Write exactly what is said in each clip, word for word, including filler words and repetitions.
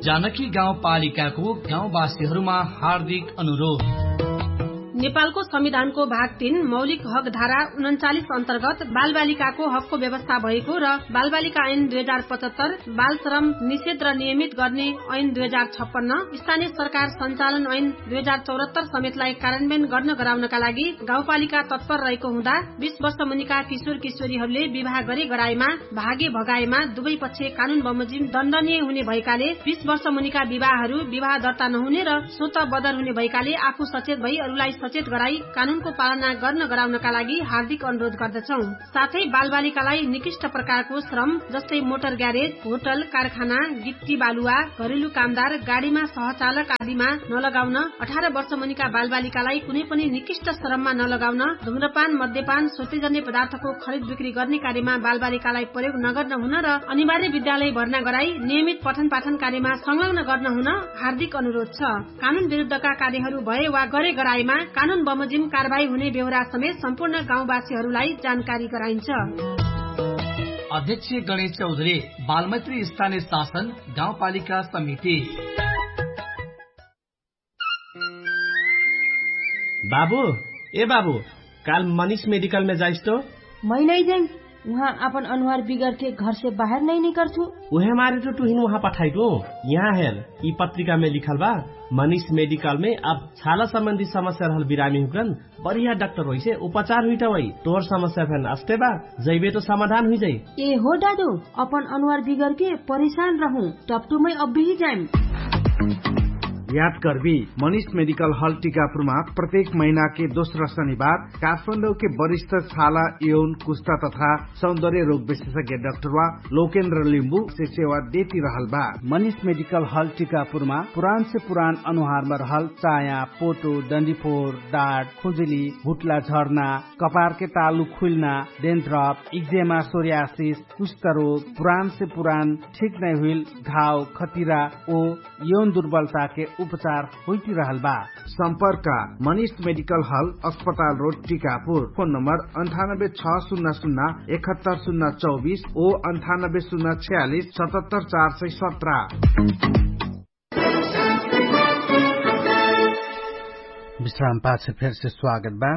जानकी गाउँपालिकाको गाउँवासीहरूमा हार्दिक अनुरोध। नेपालको संविधानको भाग तीन मौलिक हकधारा उनन्चालिस अन्तर्गत बालबालिकाको हकको व्यवस्था भएको र बालबालिका ऐन दुई हजार पचहत्तर, बालश्रम निषेध र नियमित गर्ने ऐन दुई हजार छप्पन्न, स्थानीय सरकार सञ्चालन ऐन दुई हजार चौहत्तर समेतलाई कार्यान्वयन गर्न गराउनका लागि गाउँपालिका तत्पर रहेको हुँदा, बिस वर्ष मुनिका किशोर किशोरीहरूले विवाह गरे गराएमा, भागे भगाएमा दुवै पक्ष कानुन बमोजिम दण्डनीय हुने भएकाले, बिस वर्ष मुनिका विवाहहरू विवाह दर्ता नहुने र स्वत बदर हुने भएकाले आफू सचेत भई अरूलाई सचेत गराई कानुनको पालना गर्न गराउनका लागि हार्दिक अनुरोध गर्दछौं। साथै बालबालिकालाई निकृष्ट प्रकारको श्रम, जस्तै मोटर ग्यारेज, होटल, कारखाना, गिट्टी बालुवा, घरेलु कामदार, गाडीमा सहचालक आदिमा नलगाउन, अठार वर्ष मुनिका बालबालिकालाई कुनै पनि निकृष्ट श्रममा नलगाउन, धुम्रपान, मद्यपान, सोतेजन्य पदार्थको खरिद बिक्री गर्ने कार्यमा बालबालिकालाई प्रयोग नगर्न हुन र अनिवार्य विद्यालय भर्ना गराई नियमित पठन पाठन कार्यमा संलग्न गर्न हुन हार्दिक अनुरोध छ। कानुन विरुद्धका कार्यहरू भए वा गरे गराएमा कानुन बमोजिम कारवाही हुने बेहोरा समेत सम्पूर्ण गाउँवासीहरूलाई जानकारी गराइन्छ। अध्यक्ष गणेश चौधरी, बालमैत्री स्थानीय शासन गाउँपालिका समिति। बाबु, ए बाबु, काल मनिष मेडिकलमे जाइस तो? मै नै जाइम। उहाँ आपन अनुहार बिगरके घरसे बाहेर नै निकर्छु। उहे मारे तो तुहिन उहाँ पठाइटु। यहाँ हेर, यि पत्रिकामे लिखल बा, मनिष मेडिकलमे अब छाला सम्बन्धी समस्या रहल बिरामी हुकरन बढिया डाक्टर होइसे उपचार हुइटा होइ। तोहर समस्या फेन अस्ते बा, जैबे तो समाधान हुइजाइ। ए हो दादु, अपन अनुहार बिगरके परेशान रहु, टपटुमै अब्बिही जाइम। याद करबी, मनिष मेडिकल हल टिकापुरमा प्रत्येक महिनाके दोस्रा शनिबार काठमाडौके वरिष्ठ छाला, यौन, कुष्टा तथा सौन्दर्य रोग विशेषज्ञ डाक्टरवा लोकेन्द्र लिम्बु से सेवा देती रहल बा। मनिष मेडिकल हल टिकापुरमा पुरान से पुरान अनुहारमा रहल चाया, पोटो, डन्डीफोर, डाट, खुजुली, भुटला झर्ना, कपारके तालु खुइल्ना, डेन्ट्रप, इक्जेमा, सोरियासिस, कुष्ठरोग, पुरान से पुरान ठिक नै हुइल घाव, खतिरा ओ यौन दुर्बलताके उपचार होइतिरहल बा। सम्पर्क, मनिष मेडिकल हल, अस्पताल रोड, टिकापुर। फोन नम्बर अन्ठानब्बे छ सुन्ना सुन्ना एकहत्तर सुन्ना चौबिस ओ अन्ठानब्बे सुन्ना छयालिस सतहत्तर चार सय सत्र। विश्राम पाछ फेरसे स्वागत बा।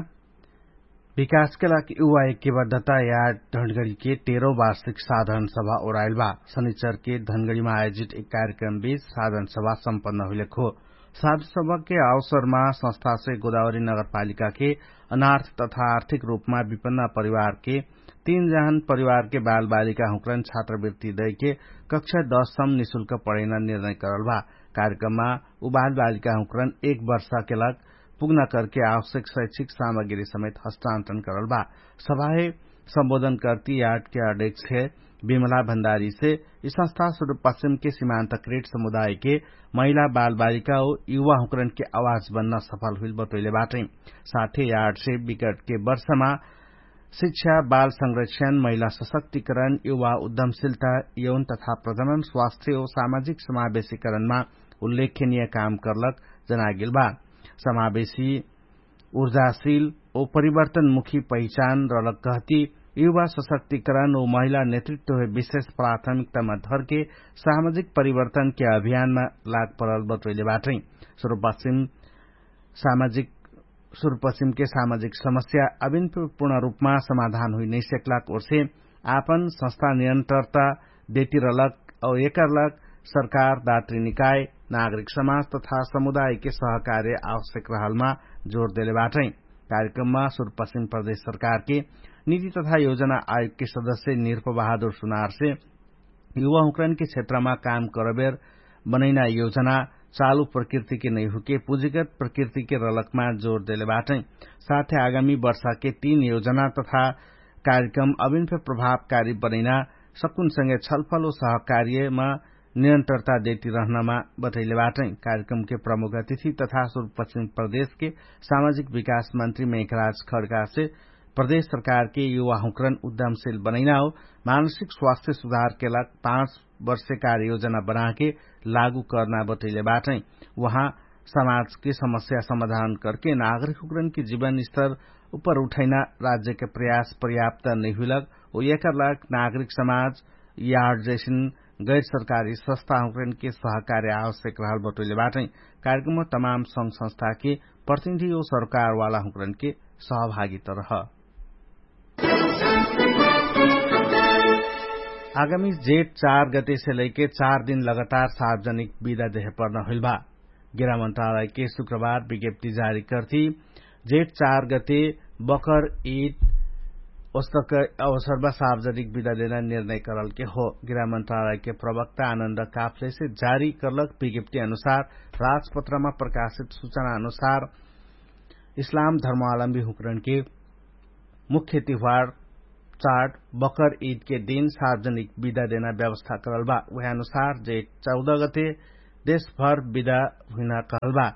विकासके लागि युवा ऐक्यबद्धता याड धनगढीके तेह्रौ वार्षिक साधारण सभा ओराइल बा। शनिचरके धनगढीमा आयोजित एक कार्यक्रम बीच साधारण सभा सम्पन्न हुइलेक हो। साधारण सभाके अवसरमा संस्थासे गोदावरी नगरपालिकाके अनार्थ तथा आर्थिक रूपमा विपन्न परिवारके तीन जहन परिवारके बालबालिका हुँक्रन छात्रवृत्ति दैके कक्षा दस सम निशुल्क पढैना निर्णय करल बा। कार्यक्रममा उ बालबालिका हुँक्रन एक वर्षके लग पुग्ना करके आवश्यक शैक्षिक सामग्री समेत हस्तान्तरण करल बा। सभाहे सम्बोधन करती याटके अध्यक्ष विमला भण्डारीसे यि संस्था सुरुपश्चिमके सिमान्तकृत समुदायके महिला बालबालिका ओ युवा हुँक्रनके आवाज बन्न सफल हुइल बतोइले बाटै। साथे याटसे विगटके वर्षमा शिक्षा, बाल संरक्षण, महिला सशक्तिकरण, युवा उद्यमशिलता, यौन तथा प्रजनन स्वास्थ्य ओ सामाजिक समावेशीकरणमा उल्लेखनीय काम करलक जनागेल बा। समावेशी, ऊर्जाशील ओ परिवर्तनमुखी पहिचान रलक कहती युवा सशक्तिकरण ओ महिला नेतृत्वहे विशेष प्राथमिकतामा धरके सामाजिक परिवर्तनके अभियानमा लाग परल बतोइले बाटै। सुरुपश्चिम सामाजिक सुरुपश्चिमके सामाजिक समस्या अभिनपूर्ण रूपमा समाधान हुइ नैसेकलाक ओर्से आपन संस्था नियन्त्रता देतिरलक औ एकरलक सरकार, दात्री निकाय, नागरिक समाज तथा समुदायके सहकार्य आवश्यक रहलमा जोर देले बाटै। कार्यक्रममा सुरुपश्चिम प्रदेश सरकारके निति तथा योजना आयोगके सदस्य निर्पबहादुर सुनारसे युवा हुँक्रनके क्षेत्रमा काम करबेर बनैना योजना चालु प्रकृतिके नैहुके पुँजीगत प्रकृतिके रलकमा जोर देले बाटै। साथे आगामी वर्षाके तीन योजना तथा कार्यक्रम अभिनफे प्रभावकारी बनैना सकुनसँगे छलफल ओ सहकार्यमा निरन्तरता देती रहनमा बतैले बाटै। कार्यक्रमके प्रमुख अतिथि तथा सुरुपश्चिम प्रदेशके सामाजिक विकास मन्त्री मेघराज खड्कासे प्रदेश सरकारके युवा हुँक्रन उद्यमशील बनैना हो मानसिक स्वास्थ्य सुधारके लाग पाँच वर्षे कार्ययोजना बनाके लागू कर्ना बतैले बाटै। उहाँ समाजके समस्या समाधान करके नागरिक हुँक्रनके जीवन स्तर उपर उठैना राज्यके प्रयास पर्याप्त नैहुइलक ओ एकरलाग नागरिक समाज यार्ड जैसिन गैर सरकारी संस्था हुँकरनके सहकार्य आवश्यक रहल बटोइले बाटै। कार्यक्रम तमाम संघ संस्थाके प्रतिनिधि ओ सरकारवाला हुँकरनके सहभागित रह। आगामी जेठ चार गतेसे लैके चार दिन लगातार सार्वजनिक विदा देहे पर्न हुइल भा। गृहमन्त्रालयके शुक्रबार विज्ञप्ति जारी कर्ति जेठ चार गते बकर ईद ओस्तक अवसरमा सार्वजनिक विदा देना निर्णय करलके हो। गृहमन्त्रालयके प्रवक्ता आनन्द काफलेसे जारी करलक विज्ञप्ति अनुसार राजपत्रमा प्रकाशित सूचना अनुसार इस्लाम धर्मावलम्बी हुँकरणके मुख्य तिहार चाड बकर ईदके दिन सार्वजनिक विदा देना व्यवस्था करल बा। उहे अनुसार जेठ चौध गते देशभर विदा हुइना कहल बा।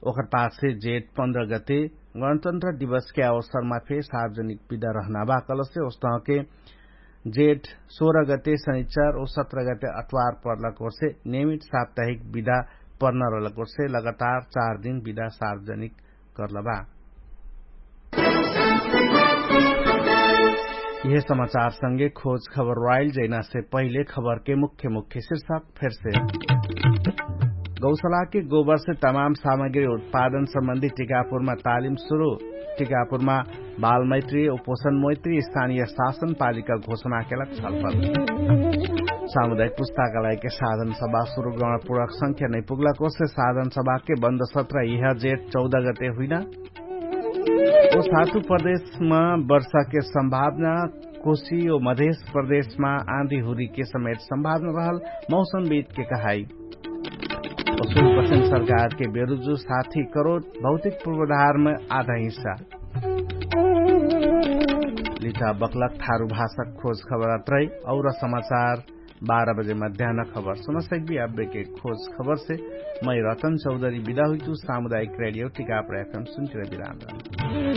ओकर पाछे जेठ पन्ध्र गते गणतन्त्र दिवसके अवसरमा फे सार्वजनिक विदा रहना बा कहलसे ओस्तहके जेठ सोह्र गते शनिचर ओ सत्र गते अतवार पर्लक ओर्से नियमित साप्ताहिक विदा पर्न रहलक ओर्से लगातार चार दिन विदा सार्वजनिक कर्लबा। यह समाचार संगे खोज खबर राइल जैनासे पहिले खबरके मुख्य मुख्य शीर्षक फेरसे। गौसलाके गोबरसे तमाम सामग्री उत्पादन सम्बन्धी टिकापुरमा तालिम सुरु। टिकापुरमा बालमैत्री उपोषण मैत्री स्थानीय शासन पालिका घोषणाके लग छलफल। सामुदायिक पुस्ताकालयके साधन सभा सुरु गणपूर्वक संख्या नै पुग्लक ओसे साधन सभाके बन्द सत्र यह जेठ चौध गते हुइना। ओ सातु प्रदेशमा वर्षाके सम्भावना कोशी ओ मधेश प्रदेशमा आँधी हुरीके समेत सम्भावना रहल मौसमविदके कहाई। पश्चिम पश्चिम सरकारके बेरुजु साथी करोड भौतिक पूर्वधारमे आधा हिस्सा। लिचा बक्लक थारु भाषक खोज खबरत रही और समाचार बाह्र बजे मध्यान खबर सुनसक्बी। अब्बेके खोज खबरसे मै रतन चौधरी बिदा हुइतु। सामुदायिक रेडियो टिकाप रह्याकन सुन्चिर बिराम रह।